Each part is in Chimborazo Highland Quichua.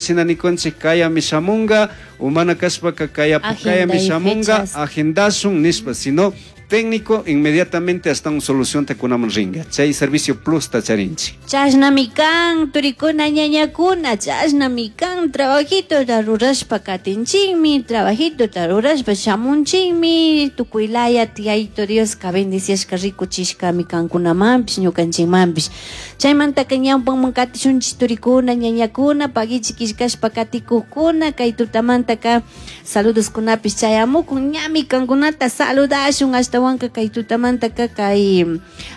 shina nikunchik kayami shamunga o mana kashpaka kayami Agendai shamunga fechas. agendashun nishpa, sino técnico inmediatamente hasta un solución ta kunaman ringa. Chay servicio plus ta charinchik. Chashnami kan, turikuna ñañakuna, chashnami kan, trabajito ta rurashpa katinchikmi, trabajito ta rurashpa shamunchikmi, tukuylaya Yayaito Dioska bendiciashka rikuchishkami kankunamanpish ñukanchikmanpish. Chaymantaka ñawpanman katishunchik turikuna ñañakuna, paguichik killkashpa katikukuna, kay tutamantaka saludoskunapish chayamukun, ñami kankunata saludashun, ashtawanka kay tutamantaka kay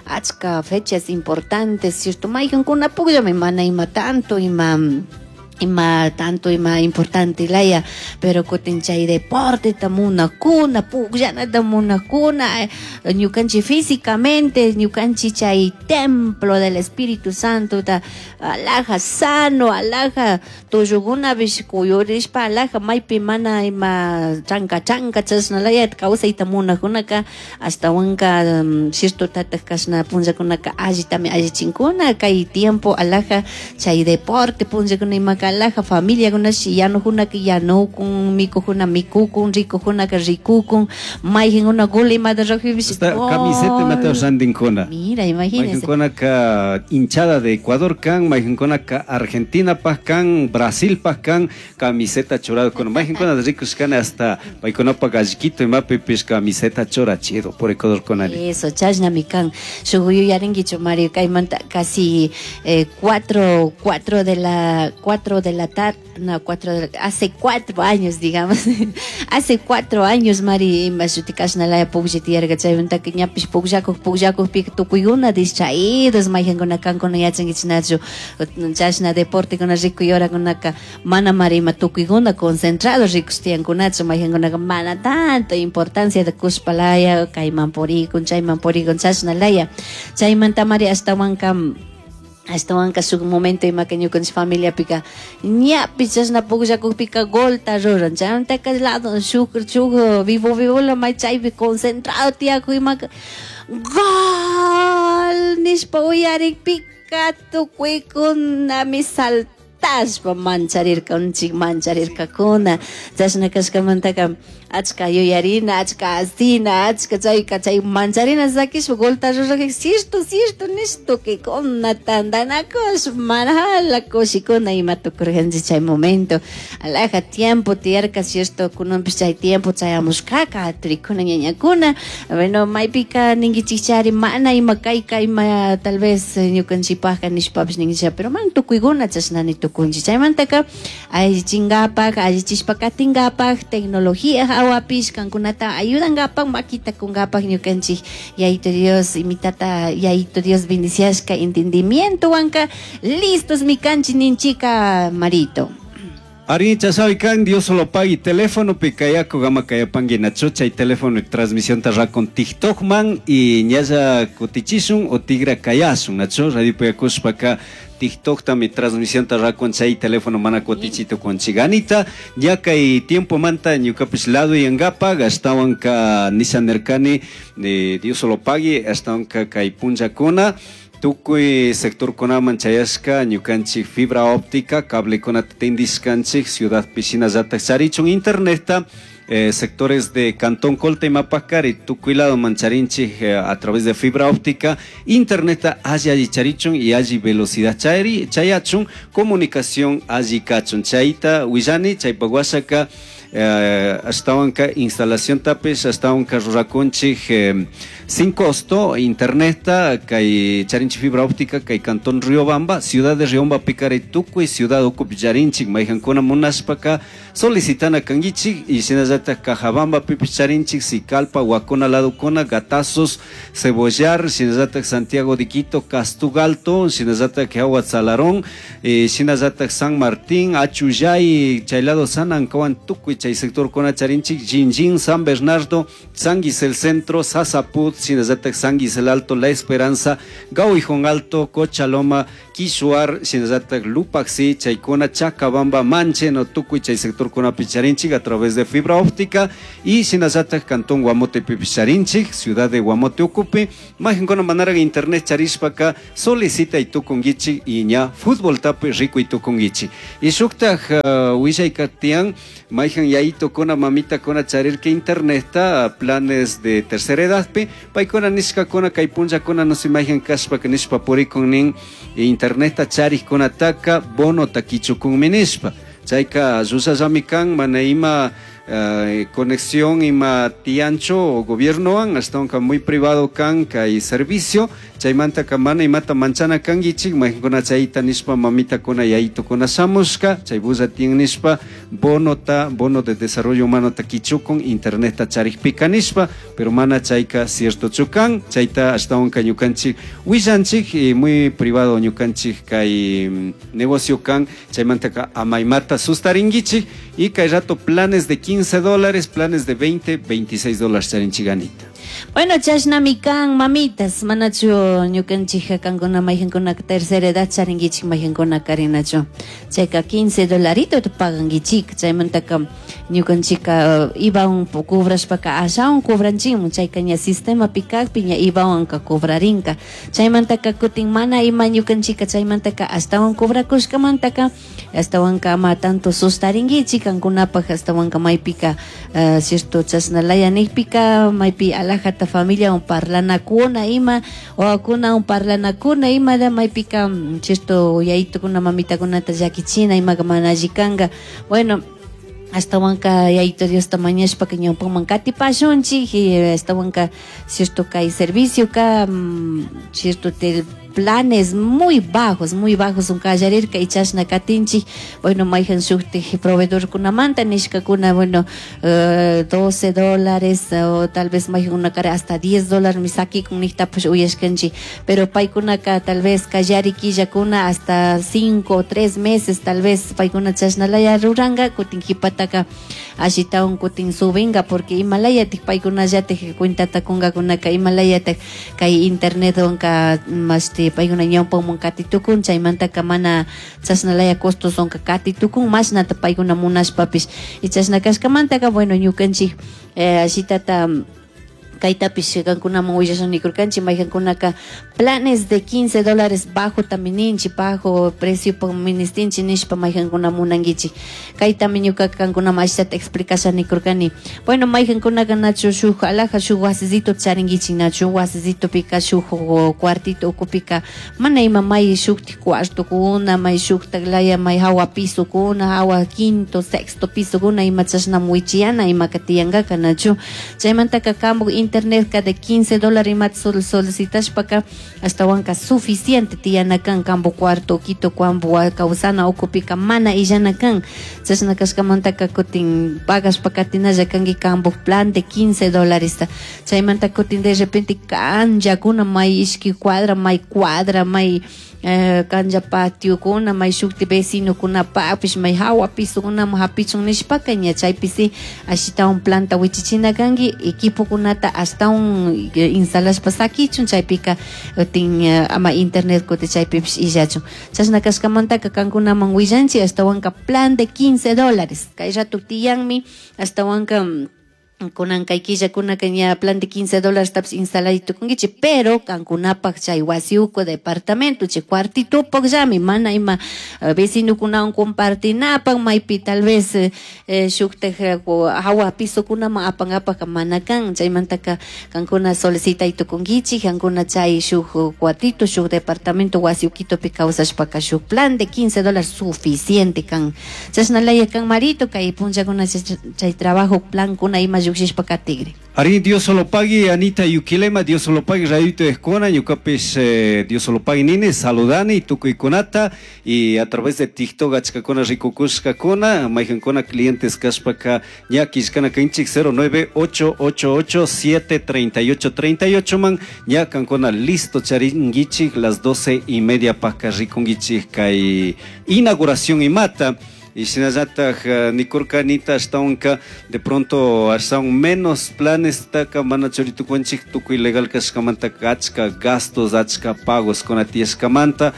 achka fechas importantes, cierto, maykankuna pukllami mana ima tanto ima tanto ima importante laya, pero kutin chay deporte ta munakuna, pukllanata munakuna, ñukanchik físicamente, ñukanchik chay templo del Espíritu Santo ta alaja sano, alaja tullukunapish kuyurishpa alaja maypi mana ima chanka chanka chashna laya kawsayta munakunaka ashtawanka cierto tatak kashna punllakunaka allitami allichinkuna kay tiempo alaja chay deporte punllakuna imaka alaja familiakunash yanukunaka yanukun, mikukuna mikukun, rikukunaka rikukun, mayjinkuna gol imata rukpipish Hasta camiseta imata randinkuna. Mira, imagínese. Mayjinkunaka hinchada de Ecuador kan, mayjinkunaka Argentina paj kan, Brasil paj kan, camiseta churadokuna. Mayjinkuna rikushkani hasta paykunapa gallquito imapipish camiseta churachido por Ecuador kunani. Eso, chashnami kan. Shuk yuyarinkichu, Mario, kaymanta casi cuatro de la tarde, no, cuatro de la, hace 4 años, digamos. Hace 4 años, Mari, ima shuti kashnalaya puklla tiyarka, chaymantaka ñapish pukllakuk, pukllakukpika tukuykuna distraídos, mayjankuna kankuna yachankichinachu, chashna deportekuna rikuy horakunaka mana mari ima tukuykuna concentrados rikush tiyankunachu, mayjankunaka mana tanto importancia de kushpalaya, kayman purikun, chayman purikun, chashnalaya. Chaymanta, Mari, ashtawanka shuk momento imaka ñukanchik familiapika ñapish chashna pukllakukpika golta ruran, chaymantaka lado shuk, shuk vivo vivola may chaypi concentrado tiyaku imaka gol nishpa uyarikpika tukuykunami saltashpa mancharirkanchik, mancharirkakuna. Chashna kashkamantaka achka yuyarina, achka asina, achka chayka chay mancharina sakishpa golta rurakik cierto, cierto nish tukuykuna tantanakush manala kushikuna ima tukurkanchik chay momento. Alaja tiempo tiyarka, cierto, kunanpish chay tiempo chayamushkaka turikuna ñañakuna. Bueno, maypika ninkichikchari mana ima kayka ima tal vez ñukanchikpajka nishpapish ninkichik, pero man tukuykuna chashnani tukunchik. Chaymantaka allichinkapak, allichishpa katinkapak, tecnología hawapish kankunata ayudankapak, makita kunkapak ñukanchik Yayaito Dios, imitata Yayaito Dios bendiciashka entendimiento wanka listos mi kanchik ninchika, Marito. Ari chasabi kan, Dios solo pagui teléfono pikayako gama kayapangi nacho chay teléfono y transmisión tarra con TikTok man y ñaya kutichishun o tigra kayasun nacho radio payakushpaka TikTok también transmisión tarra con chay teléfono mana kutichito con chiganita ya kay tiempo manta ñukapish lado y angapa gastawan ka Nissan Nercani Dios solo pagui hasta ka kay punchakuna tukuy sector kunaman chayashka ñukanchik fibra óptica cable kunata tindishkanchik ciudad piscina llatak charichun interneta sectores de Cantón Colta y Mapacari, tukuy lado mancharinchik a través de fibra óptica, interneta alli alli charichun y alli velocidad chayri, chayachun, comunicación alli kachun, chayta willani, chaypaguasaka, ashtawanka instalación tapes, ashtawanka rurakunchik sin costo, interneta, kay charinchik fibra óptica, kay Cantón Riobamba, ciudad de Riobamba, Picari, Tukuy, ciudad Ucup, Yarinchik, mayjankuna munashpaka, solicitana kanguichik, y shinallata Cajabamba, Pipi Charinchik, Sicalpa, Huacona, Laducona, Gatazos, Cebollar, shinallata Santiago de Quito, Castugalto, shinallata Salarón, shinallata San Martín, Achuyay, Chaylado, San Ancahuan, Tukuy, chay sector Cona Charinchik, Jinjin, San Bernardo, San Guisel Centro, Sasaput, shinallata San Guisel Alto, La Esperanza, Gauijón Alto, Cochaloma, Kishuar, shinallatak Lupaxi, chaykuna Chacabamba, Manche, no tukuy chay sectorkunapi charinchik a través de fibra óptica y shinallatak Cantón Guamotepipish charinchik, ciudad de Guamote ukupi, mayqankuna manarak internet charishpaka solicitay tukunkichik y ña futboltapi rikuy tukunkichik. Y shuktaj willayka tiyan mayqan yayitukuna mamitakuna charirka internetta planes de tercera edadpi paykuna nishkakuna kay punllakuna no sé mayqan kashpaka nishpa purikun nin internetta charikkunataka bonota kichukunmi nishpa chayka llushallami kan mana ima conexión ima tiyanchu gobiernowan ashtawanka muy privado kan kay servicio chaymantaka mana imata manchana kankichik mayqankuna chayta nishpa mamitakuna yayitukuna shamushka chay bulla tiyan nishpa bonota bono de desarrollo humanota kichukun internetta charikpika nishpa pero mana chayka ciertochu kan chayta ashtawanka ñukanchik willanchik y muy privado ñukanchik kay negocio kan chaymantaka ama imata sustarinkichik y kay rato planes de $15, planes de 20, $26 charinchik, Anita. Bueno, chashnami kan mamitas, manachu ñukanchik kankuna mayqankuna tercera edad charinkichik mayqankuna karinachu. Chayka 15 dolarito pagankichik, chaymantaka ñukanchika IVAwan cobrashpaka ashawan cobranchikmun, chayka ña sistemapi kakpi ña IVAwanka cobrarinka. Chaymantaka kutin mana ima ñukanchika chaymantaka ashtawan cobrakushkamantaka ashtawanka ama tanto sustarinkichik kankunapaj ashtawanka maypika cierto chashnalaya nikpika maypi alajata familia un parlanakuna ima wawakuna un parlanakuna ima da maypika cierto yayitukuna mamitakunata llakichina imaka mana alli kanka. Bueno, ashtawanka yayito Diosta mañashpaka ñawpaman katipashunchik y ashtawanka cierto kay servicio ka cierto te planes muy bajos un kallarirka y chashna katinchik. Bueno, mayqan shuktik proveedorkunamanta nishkakuna, bueno, $12 o tal vez mayqankuna kara hasta $10 mi sakikun niktapash uyashkanchik, pero paykunaka tal vez kallari killakuna hasta 5 o 3 meses tal vez paykuna chashnalaya ruranka, kutin qhipataka ashitawan kutin subinka, porque imalayatik paykunallatik cuentata kunkakunaka imalayatik kay internetwanka mashti paykuna ñawpaman katitukun, chaymantaka mana chashnalaya costoswanka katitukun mashnata paykuna munashpapish. Y chashna kashkamantaka bueno ñukanchik ashitata kaytapish kankunaman willashan nikurkanchik mayqankunaka planes de $15 bajo ninchik, bajo precio ministinchik nishpa mayqankuna munankichik. Kaytami ñukaka kankunaman ashitata explicasha nikurkani. Bueno, mayqankunaka nachu shuk alaja shuk wasisito charinkichik, nachu wasisitopika shuk cuartito ukupika mana ima may shuktik cuartokuna, may shuktak laya may hawa pisokuna, hawa quinto, sexto pisokuna ima chashnam wichiyana imaka tiyankaka nachu. Chaymantaka kampu internet ka de $15 imata solicitashpaka ashtawanka suficiente tiyana kan kampu cuarto quito kampu kawsana ukupika mana illana kan. Chashna kashkamantaka kutin pagashpa katinalla kanki kampu plan de $15. Chaymanta kutin de repente kanllakuna may ishki cuadra may cuadra may kanja patiokuna may shukti vecinokunapapish may hawa pisukunaman hapichun nishpaka ña chaypi si ashitawan planta wichichina kanki equipokunata ashtawan instalashpa sakichun chaypika kutin ama internet kuti chaypipish illachun. Chashna kashkamantaka kankunaman willanchik ashtawanka plan de $15 kay rato tiyanmi ashtawanka kunan kay killakunaka ña plan de $15 tapish instalay tukunkichik, pero kankunapaj chay wasi uku departamento chay cuartitopakllami mana ima vecinokunawan compartinapak maypi tal vez shuktak hawa pisokunaman apankapaka mana kan. Chaymantaka kankuna solicitay tukunkichik kankuna chay shuk cuartito shuk departamento wasi ukitupi kawsashpaka shuk plan de $15 suficiente kan. Chashnalaya kan marito kay punllakuna chay trabajo plankuna ima lluqshishpa katigri. Ari Dios solo pagui Anita Yuquilema, Dios solo pagui Rayito Escona, ñukapish Dios solo pagui nini, saludani tukuykunata y a través de TikTok achkakuna rikukushkakuna, mayqankuna clientes kashpaka ña killkana kanchik 09888 738 38 man ña kankuna listo charinkichik las 12:30 paka rikunkichik kay inauguración imata. Y shinallataj nikurkanita ashtawanka de pronto ashtawan menos planes taka mana churitukunchik tukuy legal kashkamanta achka gastos, achka pagos kuna tiyashkamanta,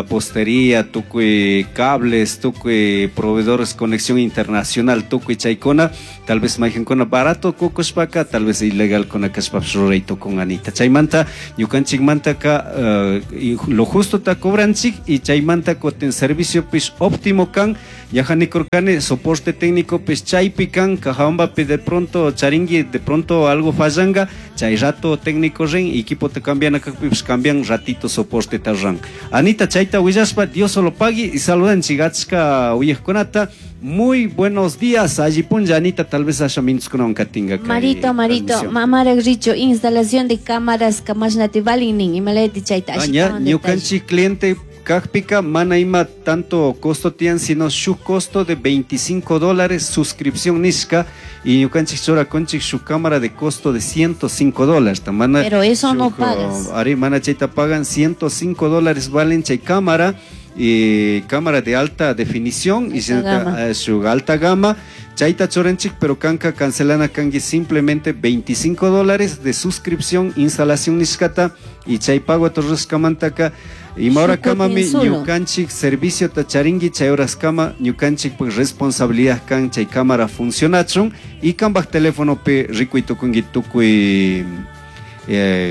postería, tukuy cables, tukuy proveedores, conexión internacional, tukuy chaykuna, tal vez mayqankuna barato kukushpaka, tal vez ilegal kuna kashpapish ruray tukun Anita. Chaymanta ñukanchikmantaka lo justo ta cobranchik y chaymanta kutin servicio pish óptimo kan, ñaja nikurkani soporte técnico pish chaypi kan, Cajabambapi de pronto charingui, de pronto algo fallanga, chay rato técnico rin, equipo te cambian acá, pues cambian ratito soporte tarran. Anita chayta willashpa, Dios solo pagui y saludan chigachka uyajkunata. Muy buenos días, allí punlla Anita, tal vez haya minutos con un catinga que Marito, Marito, transmisión. mamara richo, instalación de cámaras, camas nativalin, y maleti chayta, Ah, así ña, como detalle. ñukanchik cliente kajpika, mana ima tanto costo tian, sino su costo de veinticinco dólares suscripción nishka, y ñukanchik chora conchik su cámara de costo de ciento cinco dólares. Ta mana Pero eso no shuk, pagas. Ari, mana chayta pagan ciento cinco dólares valen chay cámara, y cámara de alta definición y Alta se nota, gama. su alta gama. Chayta chorenchik, pero kanka cancelana kangi simplemente veinticinco dólares de suscripción, instalación nishkata y chay pago a torres kamantaka. Y ahora Shukutin kama mi solo. ñukanchik servicio tacharingui chay horas kama ñukanchik pues responsabilidad kan chay cámara funcionachun y kambaj teléfono pe ricuy tukungi tukuy,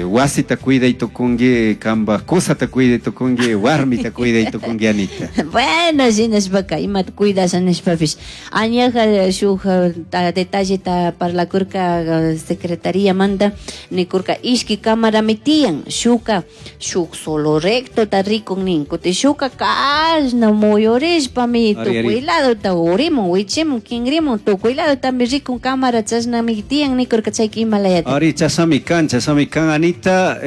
wasita cuida y tukungi, kamba cosata cuida y tukungi, warmita cuida y tukungi, Anita. Bueno, si no es vaca, ima cuidas en espafish. Añaja shuj, ta, detalle ta para la curca, secretaría manda, ni curca ishki cámara metían, shuka, shuk solo recto ta rico nin, kuti shuka kashna muyorish pa mi Ari, ari. tu cuidado ta urimu, wichimu, kinrimu, tu cuidado ta mi rico cámara chashna metían, ni curca chayki himalayata. Ari, chasami kan, chasami kan, Anita,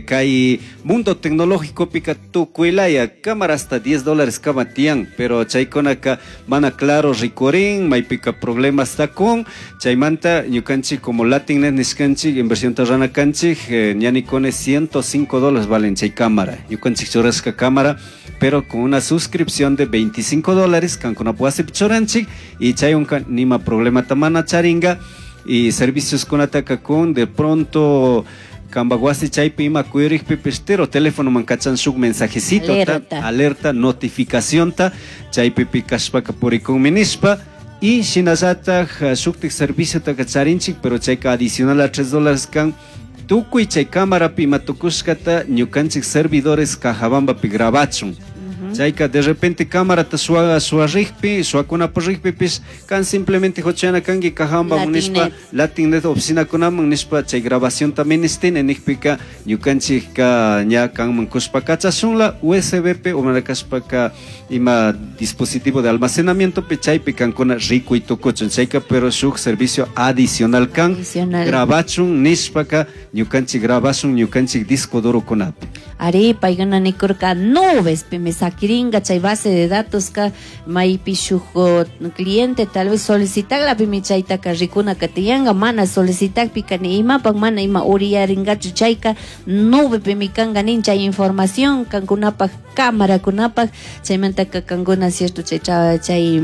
kai mundo tecnológico pica tu cuilaya, cámara hasta diez dólares kama tian, pero chaykonaka mana claro ricorín, may pica problemas ta con, chaymanta ñukanchi como Latinnet nishkanchi, inversión terrana kanchi, ñanicone ciento cinco dólares valen chay cámara, ñukanchi churasca cámara, pero con una suscripción de veinticinco dólares, kankuna puase pichoranchi, y chayunka nima problema tamana charinga, y servicios con ataca con de pronto Cambaguasi chaypi ima kuyurikpi pistero teléfono man kachan shuk mensajecito ta, Alerta. alerta notificación ta chaypi pikashpaka purikun minishpa y shinallataj shuktik servicio ta kacharinchik pero chayka adicional a tres dólares kan tukuy chay cámara pi ima tukushkata ñukanchik servidores Cajabambapi grabachun. Chayka de repente cámara ta suaga suarrikpi, suakuna porrikpi pis, kan simplemente hochana kangi Cajabamba Latinnet. munishpa, Latinnet oficina kunaman nishpa, chay grabación también estén en ikpika, ñukanchik ka ña kanman kushpa kachashunla, USB pe, o manakashpa ka ima dispositivo de almacenamiento pe, chaypi kankuna rico y tukuchun, chayka pero shuk servicio adicional kan, Adicional. grabachun nishpa ka, ñukanchik grabashun, ñukanchik disco duro kunapi. Ari, paigana nikurka nubes, pe me saquiringa, chay base de datos ka, maypi shuk, cliente tal vez solicitagla, pe mi chaytaka rikuna katiyanga, mana solicitak pi ka ni imapak, mana ima uriyaringachu chayka, nube pe mi kanga nin chay información, kankunapak, cámara kunapak, chaymantaka kankuna cierto chay, chay, chay,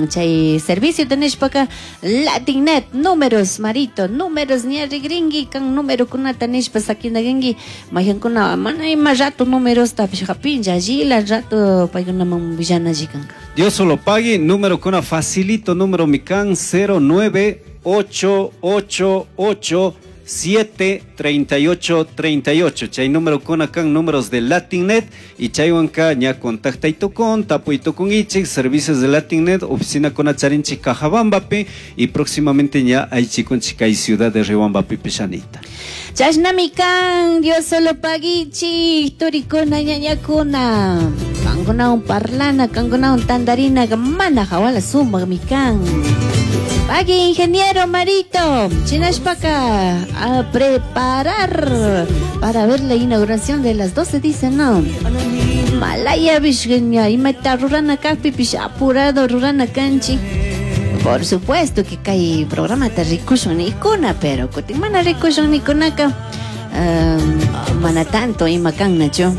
chay servicio tenishpaka, Latinnet, números, marito, números, ni arregringui, kan número kunata nishpa saquinaguingui, mayankuna, mana ima rato números ta pishapinja, allí la rato paykuna man villana jikanka. Dios solo pague, número kuna facilito, número mikan cero nueve ocho ocho ocho siete treinta y ocho treinta y ocho. Chay número con acá, números de Latinnet y chaywanka ña contacta y tocón, tapo y tocón ichik, servicios de Latinnet, oficina con acharinchi Cajabambapi y próximamente ña aichikon chicay ciudad de Riobambapi Pishanita. Chashnamikan, Dios solo paguichi, turikuna ñañakuna, kankuna un parlana, kankuna un tandarina, mana jawala suma mikan. Pagui, ingeniero Marito, Chinashpaka, a preparar para ver la inauguración de las 12, dice, no. Malaya Vishgenya, imata rurana kakpi, pish apurado rurana kanchi. Por supuesto que kai programa ta rikushun nikuna, pero kutin mana rikushun nikunaka. Mana tanto ima kannachu.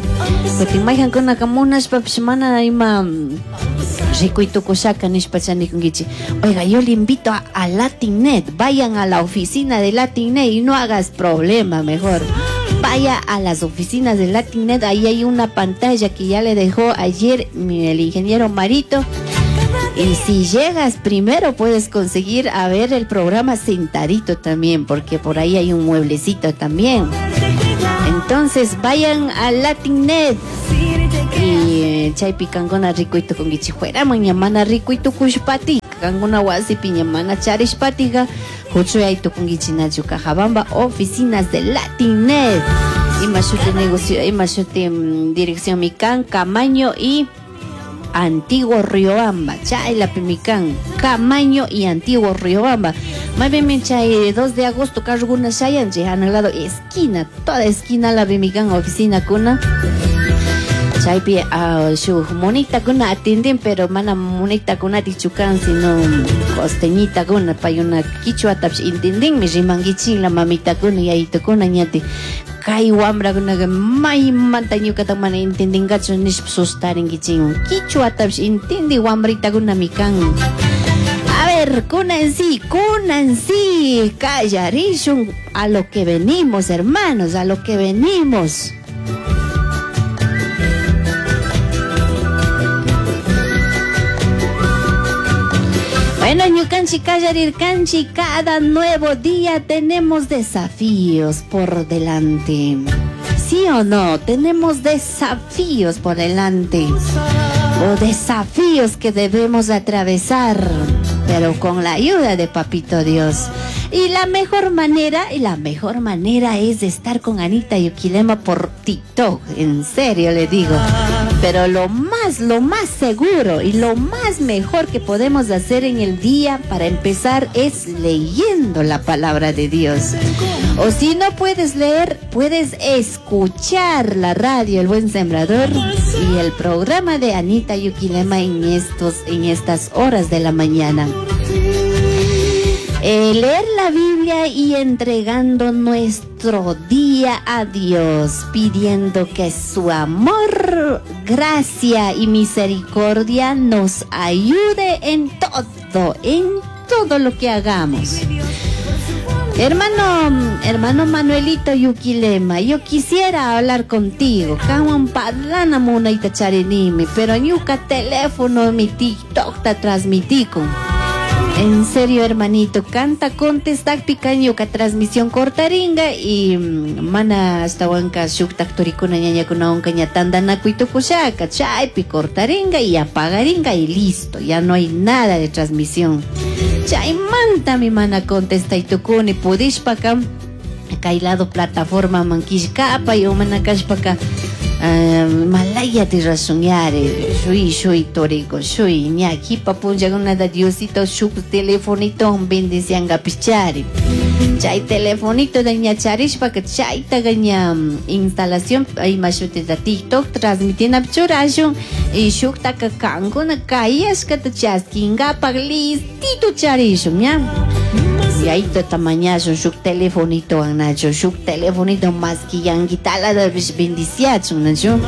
Kutin mayqankunaka munashpapish mana ima rikuy tukushaka nishpa chanikunkichik. Oiga, yo le invito a Latinnet. Vayan a la oficina de Latinnet y no hagas problema, mejor. Vaya a las oficinas de Latinnet. Ahí hay una pantalla que ya le dejó ayer el ingeniero Marito. Y si llegas primero puedes conseguir a ver el programa sentadito también, porque por ahí hay un mueblecito también. Entonces vayan a Latinnet. Y chaypi kankuna rikuyta kunkichik fueraman ña mana rikuyta kushpati kankuna wasipi ña mana charishpatiqa huchuyay tukunkichik nachu Cajabamba oficinas de Latinnet. Ima shuti negocio, ima shuti dirección mi kan, Camaño y Antiguo Riobamba, chaylapi mi kan, Camaño y Antiguo Riobamba. Más bien chay 2 de agosto carguna shayanchik, al lado esquina, toda esquina la mi kan oficina kuna. Chaypi shuk monitakuna atenden, pero mana monitakunati chukan, sino costeñitakuna, payuna quichuatapish entendinmi, rimankichik la mamitakuna, yayitukuna ñati. Kay wambrakunaqa maymanta ñuqata mana entendinkachu nishpa sustarinkichik. Quichuatapish entendi wambritakunami kan. A ver, kunansi, kunansi, kallarishun a lo que venimos, hermanos, a lo que venimos. Bueno, ñukanchik kallarirkanchik, cada nuevo día tenemos desafíos por delante. ¿Sí o no? Tenemos desafíos por delante. O desafíos que debemos atravesar, pero con la ayuda de Papito Dios. Y la mejor manera es estar con Anita Yuquilema por TikTok, en serio le digo. Pero lo más seguro y lo más mejor que podemos hacer en el día para empezar es leyendo la palabra de Dios. O si no puedes leer, puedes escuchar la radio El Buen Sembrador y el programa de Anita Yuquilema en estas horas de la mañana. Leer la Biblia y entregando nuestro día a Dios, pidiendo que su amor, gracia y misericordia nos ayude en todo lo que hagamos. Hermano Manuelito Yuquilema, yo quisiera hablar contigo. Kawan parlana munayta charinimi, pero ñuka teléfono mi TikTok ta transmitico. En serio, hermanito, canta contestak picañuka transmisión cortaringa y mana hasta huanca shuktak turikuna ñañakuna onka ña tandanakuy tukushaka, chaypi cortaringa y apagaringa y listo, ya no hay nada de transmisión. Chaymanta mi mana contesta y tukuni pudishpaka kay lado plataforma mankishkapa y umana kashpaka malaya tirasunyare shui toriko shui ñaki papunchakuna da Diosito shuk telefonito bendicianga pichari chay telefonito de ñacharishpaka chaytaqa ña instalación ima shutita TikTok transmitina churashun y shuktaka kankuna kayashkata chaskinkapak listito charishun ña. Y ahí te tamañazo, shuk telefonito, anacho, shuk telefonito más que yanguitala de bendiciacho, nacho.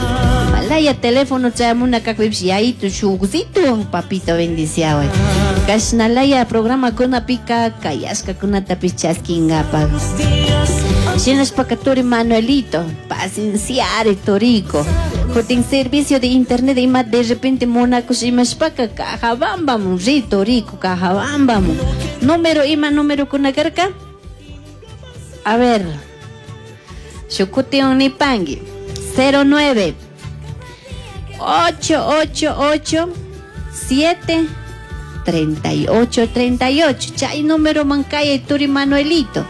Malaya teléfono, chamuna cacuips, y ahí tu shukcito, papito bendiciado. Kashnalaya programa con pica, kayasca con una tapichasquingapa. Shinas pacaturi Manuelito, pacienciare torico. Jotin servicio de internet y más de repente monaco shimashpaka, cajabambam, rito rico, cajabambam. Número ima número con la carca. A ver. Shukuti nipangi. 09 888 7 38 38. Chay número mancaya turi Manuelito.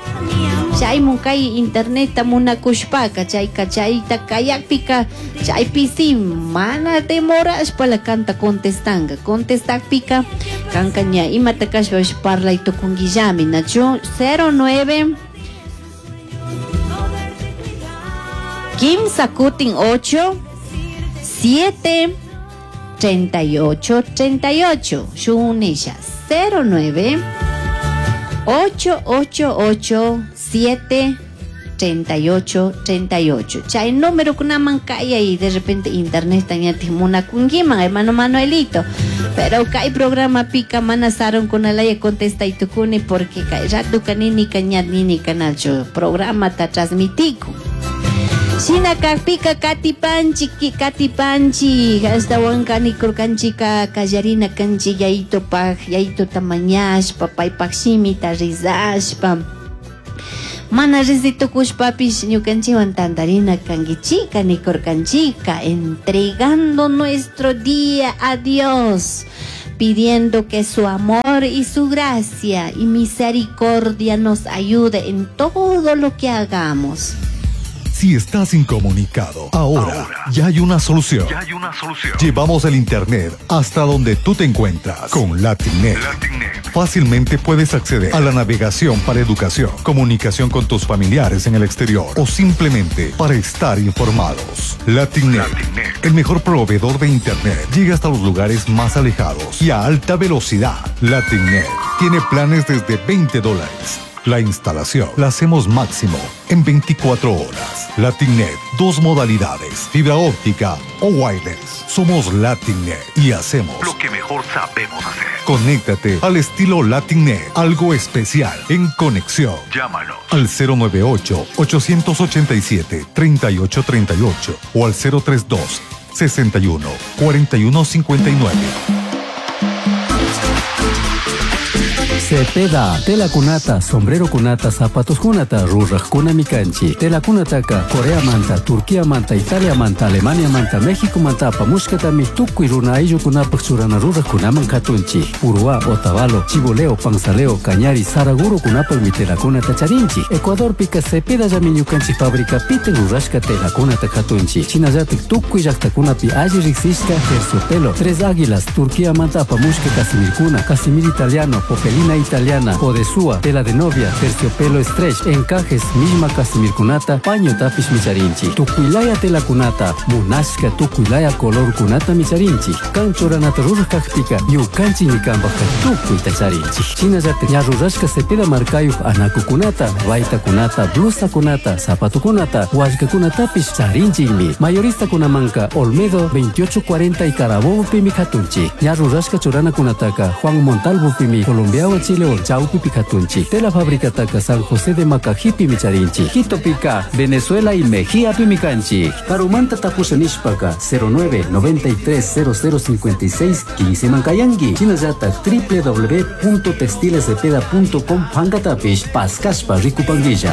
Chay munkay internet munakushpaka chayka chayta kayakpika chaypi mana demorashpa la canta contestanga contestakpika kanka ña imata kashpapish parlay tukunkillami nachu 09 kimsa kutin 8 7 38 38 shunisha 09 888 7 38 38. Chay número kunaman kayay de repente internet ñatik munakunkiman hermano Manuelito. Pero kay programa pika mana sarunkunalaya contestaytukuni porque kay ratuka nini ña nini kanalchu programa ta transmitiku. Shina kakpika katipanchi katipanchi ashtawanka nikurkanchika kallarina kanchi yayitopaj yayitota mañashpa paypaj shimita rizashpa mana rizitukushpapish ñukanchikwan tantarina kankichika nikurkanchika entregando nuestro día a Dios, pidiendo que su amor y su gracia y misericordia nos ayude en todo lo que hagamos. Si estás incomunicado, ahora ya hay una solución. Ya hay una solución. Llevamos el internet hasta donde tú te encuentras con LatinNet. LatinNet. Fácilmente puedes acceder a la navegación para educación, comunicación con tus familiares en el exterior o simplemente para estar informados. LatinNet, LatinNet. el mejor proveedor de internet, llega hasta los lugares más alejados y a alta velocidad. LatinNet tiene planes desde $20. La instalación la hacemos máximo en 24 horas. LatinNet, dos modalidades, fibra óptica o wireless. Somos LatinNet y hacemos lo que mejor sabemos hacer. Conéctate al estilo LatinNet, algo especial en conexión. Llámanos al 098 887 3838 o al 032 61 41 59. Cepeda, tela kunata, sombrero kunata, zapatos kunata, ruraj kunami kanchi. Tela kunataka, Corea manta, Turquía manta, Italia manta, Alemania manta, México manta, apamushkatami, tukuy runa ayllukunapaj churana ruraj kunaman katunchi. Uruá, Otavalo, Chiboleo, Panzaleo, Cañari, Saraguro kunapajmi tela kunata charinchi. Ecuadorpika Cepeda llami ñukanchik fábrica piten rurashka tela kunata katunchi. Shinallatik tukuy llaktakunapi alli riksishka terciopelo, Tres Águilas, Turquía manta apamushka casimirkuna, casimir italiano, popelina italiana, odesúa, tela de novia, terciopelo stretch, encajes, misma casimirkunata, paño tapish micharinchi, tukuylaya tela kunata, munashka tukuylaya color kunata micharinchi, kan churanata ruraj kakpika, ñukanchik ñikanpajka tukuyta charinchi. Shinallatak ña rurashka Cepeda markayuj anakukunata, baytakunata, blusakunata, zapatukunata, wallkakunatapish charinchikmi. Mayoristakunamanka Olmedo 2840 y Carabobo pimi katunchi. Ña rurashka churanakunataka Juan Montalvo pimi Colombiawan Chile Chaupi katunchi. Tela fabricataka San José de Macajipi micharinchi. Quito pica, Venezuela y Mejía pimicanchi. Karumanta tapusha nishpaka 09 93 00 56 15 mankayangi. Shinallata www.textilescepeda.com pankatapish paskashpa rikupanguilla.